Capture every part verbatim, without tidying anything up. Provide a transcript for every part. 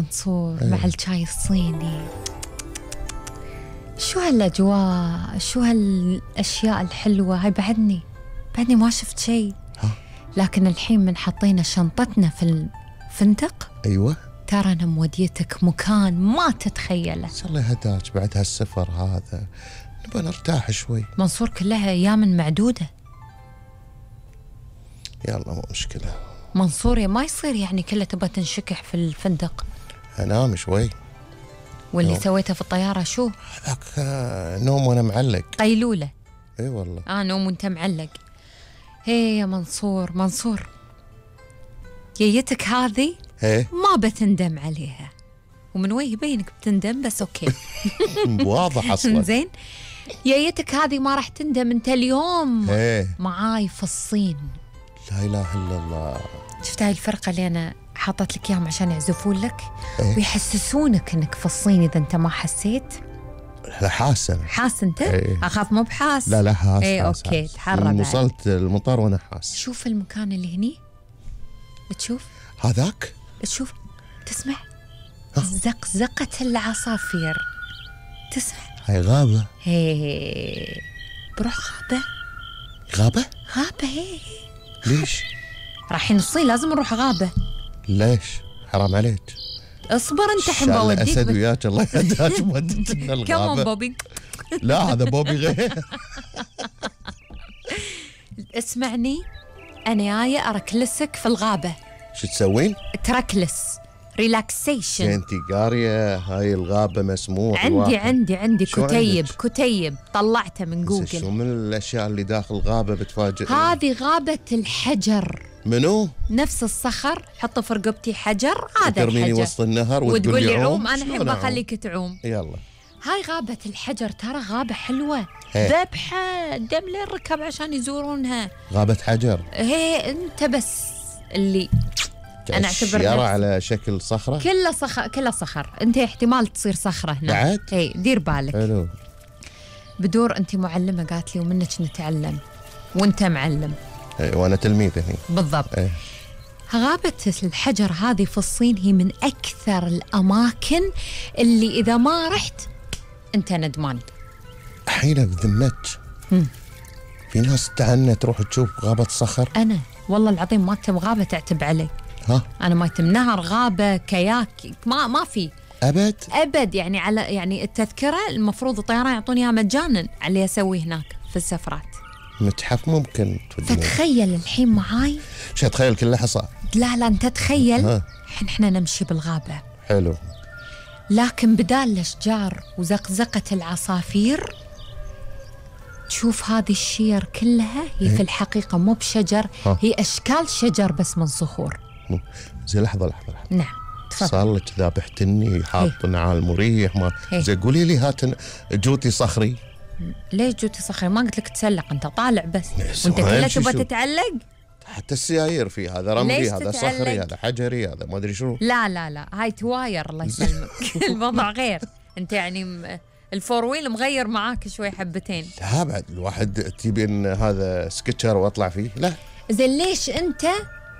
منصور مع الشاي الصيني. شو هالأجواء، شو هالأشياء الحلوة هاي. بعدني بعدني ما شفت شيء. لكن الحين من حطينا شنطتنا في الفندق، أيوة، ترى أنا موديتك مكان ما تتخيله. الله يهداك بعد هالسفر هذا، نبغى نرتاح شوي. منصور كلها أيام معدودة. يلا مو مشكلة منصور، ما يصير يعني كلها تبغى تنشكح في الفندق. أنام شوي. واللي نوم. سويته في الطيارة شو؟ هذاك نوم وأنا معلق. قيلولة. اي والله. آه نوم وأنت معلق. هي يا منصور، منصور جيتك هذه ايه ما بتندم عليها، ومن وين يبينك بتندم، بس أوكي. واضح أصلا. زين، جيتك هذه ما راح تندم. أنت اليوم ايه معاي في الصين. لا إله إلا الله. شفت هاي الفرقة اللي أنا حاطت لك إياهم عشان يعزفون لك إيه؟ ويحسسونك إنك في الصين إذا أنت ما حسيت. لا حاسة. حاس أنت؟ إيه. أخاف مو بحاس. لا لا حاس. إيه حاس أوكي حاس. تحرى بعد. وصلت المطار وأنا حاس. شوف المكان اللي هني، بتشوف هذاك. بتشوف تسمع زقزقة العصافير، تسمع. هاي غابة. هي بروح غابة. غابة؟ غابة هي. ليش؟ رايحين الصين لازم نروح غابة. ليش؟ حرام عليك. اصبر انت حين بوديك. أسد وياك الله يهداك ودتنا الغابة. كمان بوبي. لا هذا بوبي غير. اسمعني، أنا جاية أركلسك في الغابة. شو تسوين؟ تركلس ريلاكسيشن. انتي قارية هاي الغابة مسموح؟ عندي الواحد. عندي عندي شو كتيب عندك؟ كتيب طلعته من شو جوجل. من الأشياء اللي داخل الغابة بتفاجئ؟ هذه غابة الحجر. منو؟ نفس الصخر، حط في رقبتي حجر، هذا ترميني الحجر وسط النهر وتقول لي عوم. أنا شلون أحب أعوم؟ أخليك تعوم. يلا. هاي غابة الحجر، ترى غابة حلوة هي. ذبحة دم لين ركب عشان يزورونها. غابة حجر. هي أنت بس اللي أنا أعتبر شيارة نفسي. على شكل صخرة. كله صخر، كله صخر. أنت احتمال تصير صخرة هنا بعد؟ هي دير بالك. حلو. بدور أنت معلمة قالت لي ومنك نتعلم وأنت معلم. اي وانا تلميذ هني. بالضبط. ايه. غابة الحجر هذه في الصين هي من أكثر الأماكن اللي إذا ما رحت أنت ندمان. حين بذمتك في ناس تعنى تروح تشوف غابة صخر. أنا والله العظيم ما تم غابة تعتب علي. ها أنا ما يتم نهر، غابة، كياك، ما ما في أبد أبد. يعني على يعني التذكرة المفروض الطيران يعطوني إياها مجانا على اللي أسويه هناك في السفرات. متحف ممكن توديني. فتخيل الحين معاي. شو تخيل كله حصى. لا لا أنت تخيل ها. الحين إحنا نمشي بالغابة، حلو. لكن بدال الأشجار وزقزقة العصافير تشوف هذه الشير كلها هي في الحقيقة مو بشجر، ها. هي أشكال شجر بس من صخور. مو- زي لحظة لحظة لحظة. نعم تفضل. صار لك ذابحتني حاط نعال مريح ما هي. زي قولي لي هات جوتي صخري. ليش جوتي صخري؟ ما قلت لك تسلق، أنت طالع بس يس، وأنت ما كله يمشي تبغى شو. تتعلق. حتى السيايير في هذا رملي، ليش هذا تتعلق؟ صخري، هذا حجري، هذا ما ادري شنو. لا لا لا هاي تواير الله يسلمك. الوضع غير. أنت يعني م- الفور ويل مغير معاك شوي حبتين. لا بعد الواحد تبي ان هذا سكتشر واطلع فيه. لا زين ليش أنت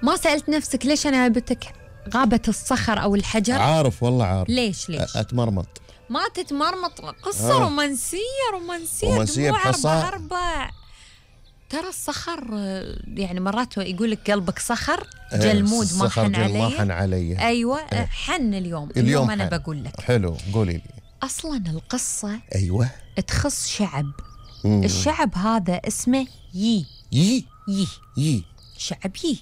ما سألت نفسك ليش أنا جبتك غابة الصخر أو الحجر؟ عارف والله عارف. ليش ليش؟ أ- اتمرمط. ما تتمرمط، قصة آه. رومانسية رومانسية رومانسية دموع بحصى. أربع أربع. ترى الصخر آه، يعني مرات يقول لك قلبك صخر جلمود ما الصخر حن جل ما حن علي. علي. أيوة آه، حن اليوم. اليوم اليوم أنا حن. بقول لك. حلو قولي لي. أصلا القصة ايوه. تخص شعب. مم. الشعب هذا اسمه يي. يي يي يي شعب يي،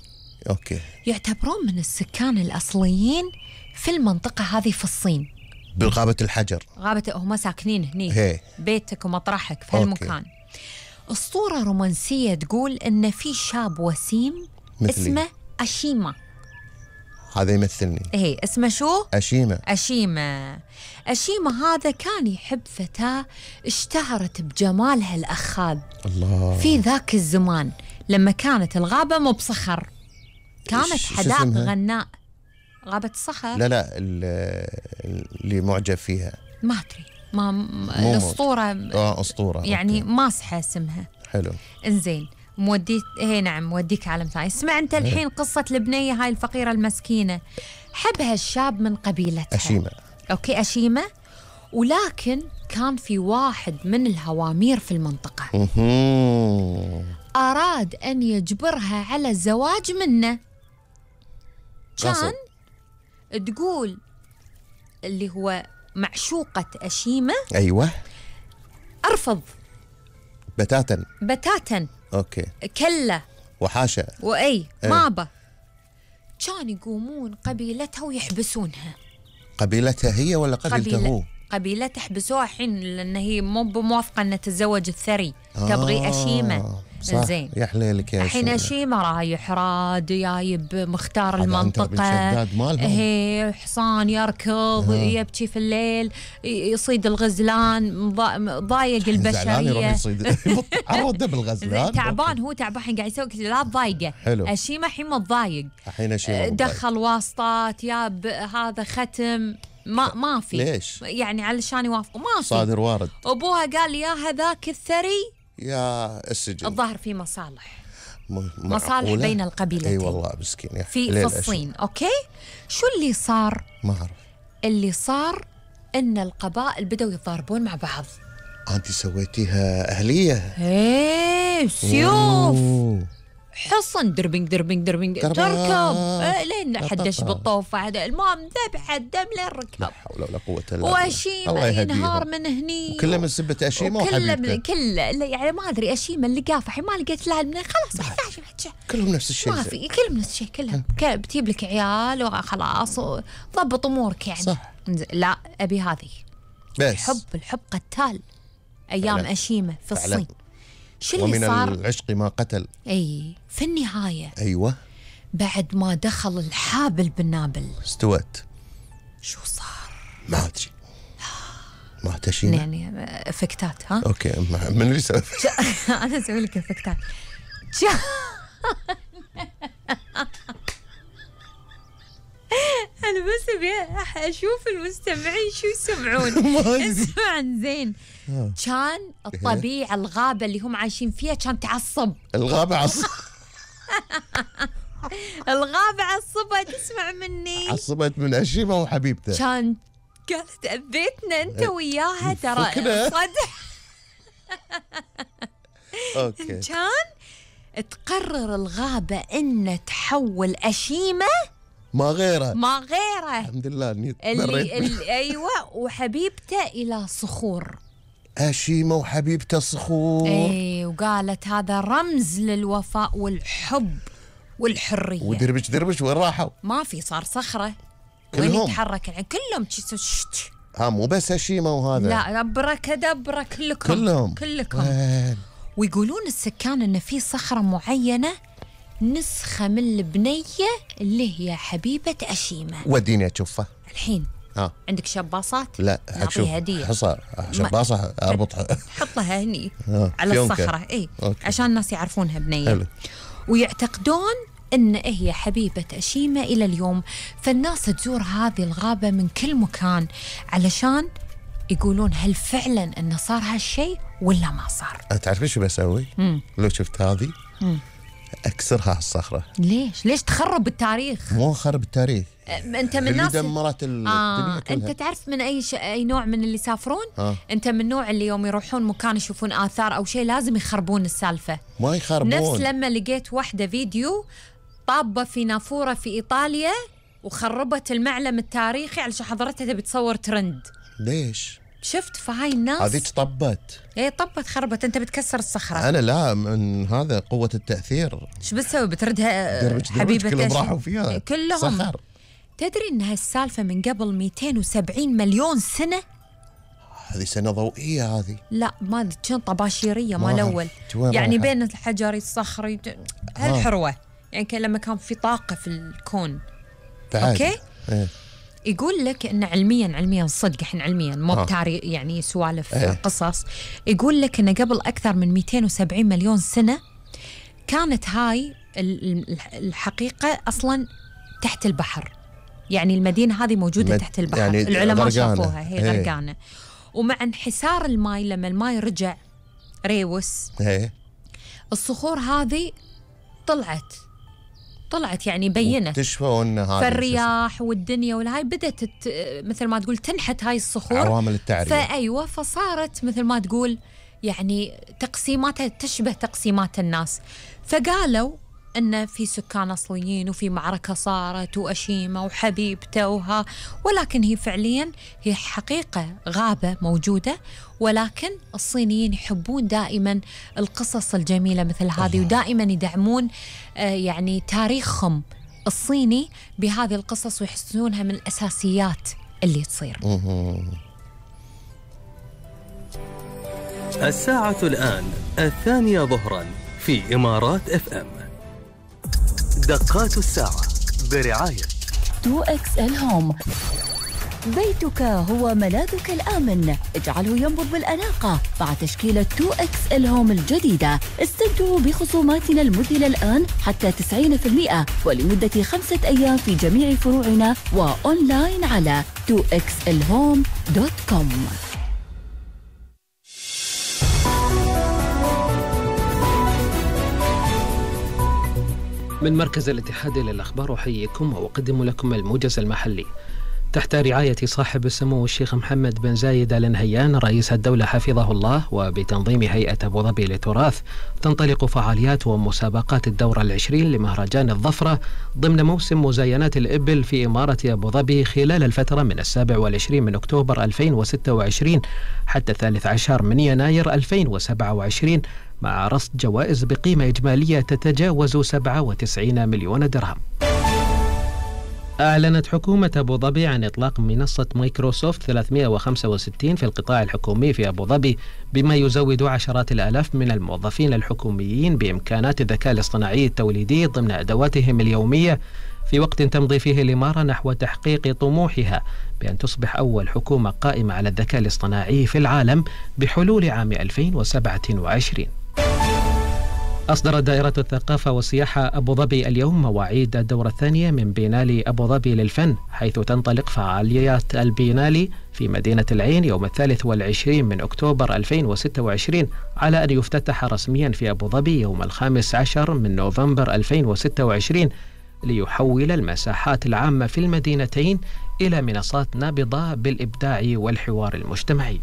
اوكي. يعتبرون من السكان الأصليين في المنطقة هذه في الصين. بغابة الحجر. غابة هم ساكنين هني. هي. بيتك ومطرحك في هالمكان. أسطورة رومانسية تقول إن في شاب وسيم مثلي. اسمه أشيما. هذا يمثلني. إيه اسمه شو؟ أشيمة. أشيما. أشيما هذا كان يحب فتاة اشتهرت بجمالها الأخاذ الله. في ذاك الزمان لما كانت الغابة مو بصخر، كانت ش- شو حدائق اسمها؟ غناء. غابة الصخر. لا لا ال- اللي معجب فيها. ما أدري ما م- مو الأسطورة اه اسطورة. يعني أوكي. ماسحة اسمها. حلو. انزين موديت. هي نعم موديك عالم ثاني. اسمع انت الحين قصة البنية هاي الفقيرة المسكينة. حبها الشاب من قبيلتها أشيمة. أوكي أشيمة، ولكن كان في واحد من الهوامير في المنطقة أراد أن يجبرها على الزواج منه. كان تقول اللي هو معشوقة أشيمة أيوة أرفض بتاتا بتاتا. أوكي كلا وحاشا وأي ايه. ما أبى. كان يقومون قبيلتها ويحبسونها. قبيلتها هي ولا قبيلته قبيلة هو؟ قبيلتها حبسوها الحين لأن هي مو بموافقة أن تتزوج الثري. آه تبغي أشيمة. زين يا حليلك يا الحين أشيمة رايح راد جايب مختار المنطقة، هي حصان يركض آه. يبكي في الليل، يصيد الغزلان، ضايق البشرية. عرض بالغزلان تعبان هو تعبان قاعد يسوي لا تضايقه. أشيمة الحين متضايق، الحين أشيمة دخل واسطات ياب هذا ختم ما ما في. ليش؟ يعني علشان يوافقوا ما في. صادر وارد. أبوها قال يا هذاك الثري يا السجن. الظاهر في مصالح م... مصالح بين القبيلتين. اي والله مسكين يا في في الصين. اوكي شو اللي صار؟ ما اعرف. اللي صار ان القبائل بدأوا يتضاربون مع بعض. انت سويتيها اهليه؟ ايه سيوف أوه. حصن دربنج دربنج دربنج تركب آه لين حدش بالطوفة هذا المهم ذبح الدم لين ركب. لا حول ولا قوة إلا بالله. وأشيمة ينهار من هني كله من سبة أشيمة وحبيبته. كله يعني ما أدري أشيمة اللي قافح ما لقيت لها من خلاص كلهم نفس الشيء. ما في كلهم نفس الشيء كلهم بتجيب لك عيال وخلاص ضبط أمورك يعني. صح. لا أبي هذه بس الحب الحب قتال أيام فعلا. أشيمة في الصين فعلا. شو اللي ومن صار؟ العشق ما قتل. اي في النهاية ايوه بعد ما دخل الحابل بالنابل استوت. شو صار؟ ما ادري ما تشينا يعني افكتات. ها اوكي من اللي سوى؟ انا اسوي لك افكتات. انا بس ابي اشوف المستمعين شو يسمعون. اسمع زين. كان الطبيعة الغابة اللي هم عايشين فيها كان تعصب. الغابة عصب. الغابة عصبت اسمع مني. عصبت من أشيمة وحبيبته. كان قالت أذيتنا أنت وياها ترى صدق. أوكي. كان تقرر الغابة إن تحول أشيمة ما غيره ما غيره الحمد لله اني اللي, اللي ايوه وحبيبته الى صخور. أشيمة وحبيبته صخور. اي وقالت هذا رمز للوفاء والحب والحرية. ودربش دربش وين راحوا؟ ما في صار صخرة كلهم وين يتحرك يعني كلهم ها مو بس أشيمة وهذا لا أبركدبرة كلكم كلهم كلكم وين. ويقولون السكان إن في صخرة معينة نسخة من البنية اللي هي حبيبة أشيمة. وديني أشوفها الحين. ها عندك شباصات؟ لا نعطيها هدية. حصى شباصة أربطها حطها هني على الصخرة اي أوكي. عشان الناس يعرفونها بنية. حلو. ويعتقدون إن هي حبيبة أشيمة إلى اليوم، فالناس تزور هذه الغابة من كل مكان علشان يقولون هل فعلا إنه صار هالشيء ولا ما صار. تعرفين شو بسوي؟ مم. لو شفت هذه مم. أكسرها على الصخرة. ليش؟ ليش تخرب التاريخ؟ مو خرب التاريخ. أنت من الناس اللي دمرت الدنيا آه. كلها. أنت تعرف من أي ش... أي نوع من اللي يسافرون؟ آه. أنت من النوع اللي يوم يروحون مكان يشوفون آثار أو شيء لازم يخربون السالفة. ما يخربون. نفس لما لقيت واحدة فيديو طابة في نافورة في إيطاليا وخربت المعلم التاريخي علشان حضرتها تبي تصور ترند. ليش؟ شفت فهاي الناس هذه طبت. ايه طبت خربت. انت بتكسر الصخره. انا لا من هذا قوه التاثير. شو بتسوي؟ بتردها دربج حبيبه كلهم راحوا فيها كلهم صخر. تدري ان هالسالفه من قبل مئتين وسبعين مليون سنه؟ هذه سنه ضوئيه هذه. لا ما ادري كان طباشيريه مال اول يعني بين الحجري الصخري هالحروه آه. يعني كان لما كان في طاقه في الكون. اوكي إيه. يقول لك إن علميا علميا صدق إحنا علميا مو بتاريخ يعني سوالف ايه. قصص. يقول لك إن قبل أكثر من مئتين وسبعين مليون سنة كانت هاي الحقيقة أصلا تحت البحر. يعني المدينة هذه موجودة مد... تحت البحر يعني العلماء شافوها هي ايه. غرقانة. ومع انحسار الماء لما الماء رجع ريوس ايه. الصخور هذه طلعت طلعت يعني بينت اكتشفوا ان هذه فالرياح والدنيا والهاي بدأت تت... مثل ما تقول تنحت هاي الصخور، عوامل التعرية. فأيوة فصارت مثل ما تقول يعني تقسيماتها تشبه تقسيمات الناس. فقالوا أن في سكان أصليين وفي معركة صارت وأشيمة وحبيبته وها، ولكن هي فعليا هي حقيقة غابة موجودة، ولكن الصينيين يحبون دائما القصص الجميلة مثل هذه، ودائما يدعمون آه يعني تاريخهم الصيني بهذه القصص ويحسونها من الأساسيات اللي تصير. الساعة الآن الثانية ظهرا في إمارات اف ام. دقات الساعة برعاية تو إكس إل هوم. بيتك هو ملاذك الآمن، اجعله ينبض بالأناقة مع تشكيلة تو إكس إل هوم الجديدة. استمتعوا بخصوماتنا المذهلة الآن حتى تسعين بالمئة ولمدة خمسة أيام في جميع فروعنا وأونلاين على تو إكس إل هوم دوت كوم. من مركز الاتحاد للأخبار أحييكم وأقدم لكم الموجز المحلي تحت رعاية صاحب السمو الشيخ محمد بن زايد آل نهيان رئيس الدولة حفظه الله، وبتنظيم هيئة أبو ظبي للتراث. تنطلق فعاليات ومسابقات الدورة العشرين لمهرجان الظفرة ضمن موسم مزاينات الإبل في إمارة أبو ظبي خلال الفترة من السابع والعشرين من أكتوبر ألفين وستة وعشرين حتى الثالث عشر من يناير ألفين وسبعة وعشرين، مع رصد جوائز بقيمة إجمالية تتجاوز سبعة وتسعين مليون درهم. أعلنت حكومة أبو ظبي عن إطلاق منصة مايكروسوفت ثلاثمئة وخمسة وستين في القطاع الحكومي في أبو ظبي، بما يزود عشرات الآلاف من الموظفين الحكوميين بإمكانات الذكاء الاصطناعي التوليدي ضمن أدواتهم اليومية، في وقت تمضي فيه الإمارة نحو تحقيق طموحها بأن تصبح أول حكومة قائمة على الذكاء الاصطناعي في العالم بحلول عام ألفين وسبعة وعشرين. أصدرت دائرة الثقافة والسياحة أبو ظبي اليوم مواعيد الدورة الثانية من بينالي أبو ظبي للفن، حيث تنطلق فعاليات البينالي في مدينة العين يوم الثالث والعشرين من أكتوبر ألفين وستة وعشرين، على أن يفتتح رسميا في أبو ظبي يوم الخامس عشر من نوفمبر ألفين وستة وعشرين، ليحول المساحات العامة في المدينتين إلى منصات نابضة بالإبداع والحوار المجتمعي.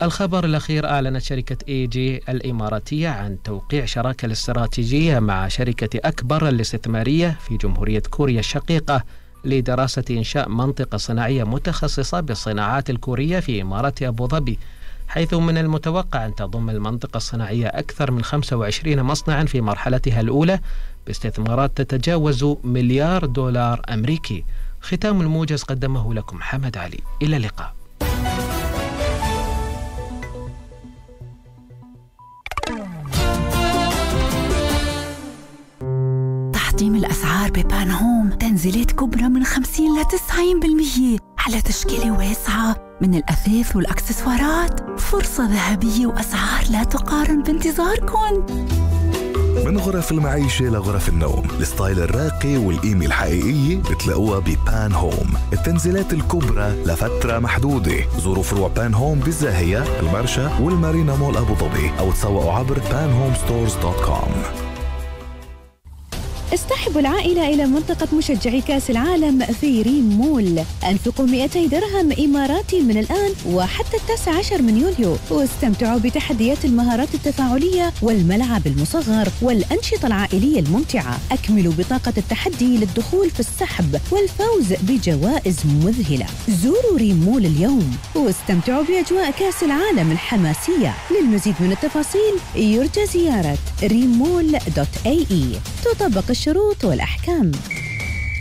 الخبر الأخير، أعلنت شركة إي جي الإماراتية عن توقيع شراكة الاستراتيجية مع شركة أكبر الاستثمارية في جمهورية كوريا الشقيقة لدراسة إنشاء منطقة صناعية متخصصة بالصناعات الكورية في إمارة أبو ظبي، حيث من المتوقع أن تضم المنطقة الصناعية أكثر من خمسة وعشرين مصنعا في مرحلتها الأولى باستثمارات تتجاوز مليار دولار أمريكي. ختام الموجز قدمه لكم حمد علي، إلى اللقاء. تحطيم الأسعار ببان هوم، تنزيلات كبرى من خمسين إلى تسعين بالمئة على تشكيلة واسعة من الأثاث والأكسسوارات. فرصة ذهبية وأسعار لا تقارن بانتظاركم. من غرف المعيشة لغرف النوم، الستايل الراقي والقيمة الحقيقية بتلاقوها ببان هوم. التنزيلات الكبرى لفترة محدودة. زوروا فروع بان هوم بالزاهية، المرشى والمارينا مول أبو ظبي، أو تسوقوا عبر بان هوم ستورز دوت كوم. اصطحبوا العائلة إلى منطقة مشجعي كأس العالم في ريم مول. أنفقوا مئتي درهم إماراتي من الآن وحتى التاسع عشر من يوليو، واستمتعوا بتحديات المهارات التفاعلية والملعب المصغر والأنشطة العائلية الممتعة. أكملوا بطاقة التحدي للدخول في السحب والفوز بجوائز مذهلة. زوروا ريم مول اليوم واستمتعوا بأجواء كأس العالم الحماسية. للمزيد من التفاصيل يرجى زيارة ريم مول دوت اي اي. تطبق الشروط والأحكام.